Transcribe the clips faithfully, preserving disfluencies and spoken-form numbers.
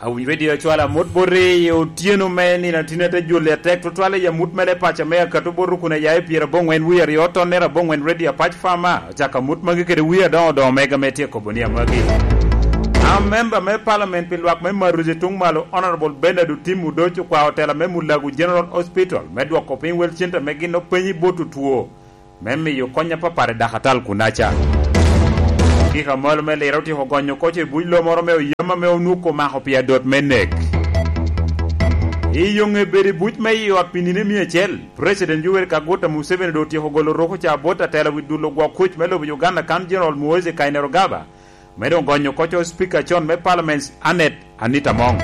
Awinyo redio acwalo amut boti i otyeno me nino atini ate juli atek tutwal i amut mere paco me akato bot rukun a ya i pyerabongwen wie aryo tonnere abongwen redio apac fama. Ocako amut magi kede wie adoŋo doŋo mega me tye kobo ni amagi. A memba me palament pi lwak me Maruzi tuŋ malo Honorable Bernard Otim Udoc okwao tela me Mulago General Hospital me dwoko piny wel cente me gin openyi bot otwo me miyo kony apapat i dakatal kunaca. Kika malo me liro otyeko gonyo koco i buc lo moro me oyam ame onwuko omako pi adot me nek. I yo ŋe bedo i buc me i ot pi nino mia acel, President Yoweri Kaguta Museveni doŋ otyeko golo roko ca bot atela wi dulo gwok kuc me lobo Uganda kan General Muhoozi Kainerugaba, me doŋ gonyo koco Speaker con me Parliament Annet Anita Among.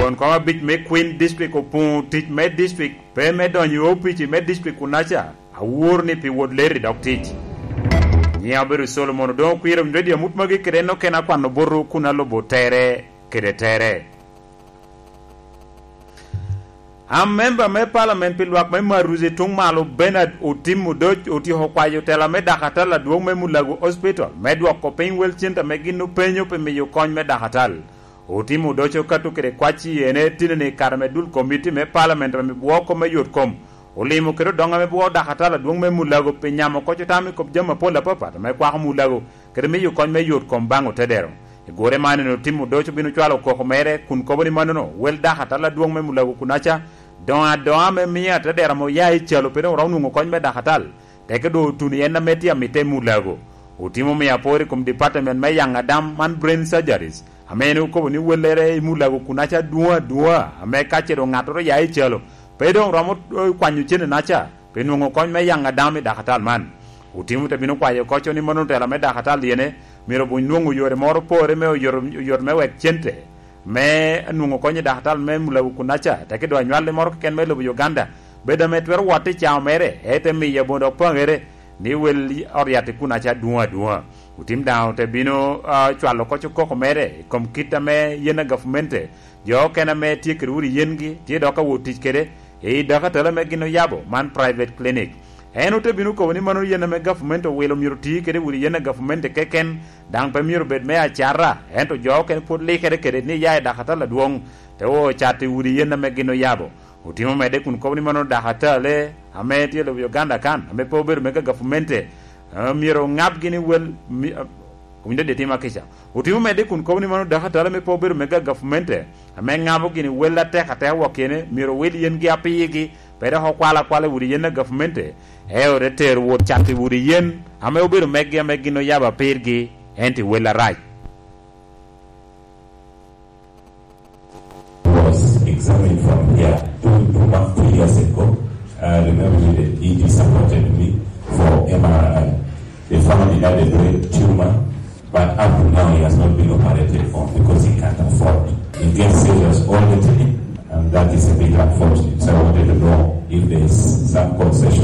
Won kom abic me Queen District opuŋo tic me district, pe me donyo i opici me district kunaca, awor ni pi wot leri dok tic. Nyiŋa obedo Solomon Odoŋo Kwir, owinyo redio amut magi kede en okene akwano botwu kun alubo tere kede tere. A memba me palament pi lwak me Maruzi tuŋ malo Bernard Otim Odoc otyeko kwayo tela me dakatal adwoŋ me Mulago Hospital me dwoko piny wel cente ame gin openyo pi miyo kony me dakatal. Otim Odoc okato kede kwac i ene tineni kare me dul komiti me palament ame bwoko me yot kom olimo kede odoŋ ame bwoko dakatal adwoŋ me Mulago pi nyamo koc otam i kop jami apol apapat ame kwako Mulago kede miyo kony me yot kom baŋ otedero. I gore man en Otim Odoc obino cwalo koko mere kun kobo ni mannono wel dakatal adwoŋ me Mulago kunaca doŋ adoŋa me miyo atedero ame oya i calo pe doŋ oromo nwoŋo kony me dakatal, teke doŋ otuno i en ame tye amitte i Mulago. Otim omio apor i kom department me yaŋ adam man brain surgeries, ame en okobo ni wellere i Mulago kunaca adwoŋ adwoŋa, ame ka ce doŋ ŋattoro oya i calo, pe doŋ romo, eh, kwanyo cene naca, pi nwoŋo kony me yaŋ adam i dakatal man. Otim te bino kwayo koco ni mano tela me dakatal yene, myero obuny nwoŋo yore moro pore me oyoto, oyoto me wek cente me nwoŋo kony i dakatal me Mulago kunaca, teke doŋ anywalli moro keken me lobo Uganda, bedo ame twero wot i cao mere, ete miyo abondo apaŋere, ni wel ot yat i kunaca adwoŋ adwoŋa. Otim daŋ te bino, ah, cwalo koco koko mere i kom kit ame yen a gavmente, jo okene ame tye kede udi yengi, tye dok ka wot tic kede, i dakatala ame gin oyabo, man private clinic. En ote bino kobo ni mano yen ame gavumenti owilo myero oti kede udi yen a gavumenti keken, daŋ pe myero bed me acara, ento jo okene pwod likere kede ni ya i dakatala adwoŋ, te o cat i udi yen ame gin oyabo. Otimo medde kun kobo ni mano dakatale ame tye i lobo Uganda kan, ame pe obedo mega gavumenti, eh, myero oŋabgi ni wel, mi-, eh, owinjo dye tim akica. Otimo medde kun kobo ni mano dakatale ame pe obedo mega gavumenti, ame ŋabo gini wel atek atek wok kene, myero owil yengi apirgi, pe dok okwal akwala i udi yen a gavumenti, eo te tero wot cat i udi yen ame obedo meggi ame gin oyabo apirgi, ento i wel arac. Was examined from here two, two months, two years ago. I remember the E D supported me for M R I. They found he had a brain tumor, but up to now he has not been operated on because he can't afford. He gets serious all the time, and that is a bit unfortunate. So I wanted to know if there is some concession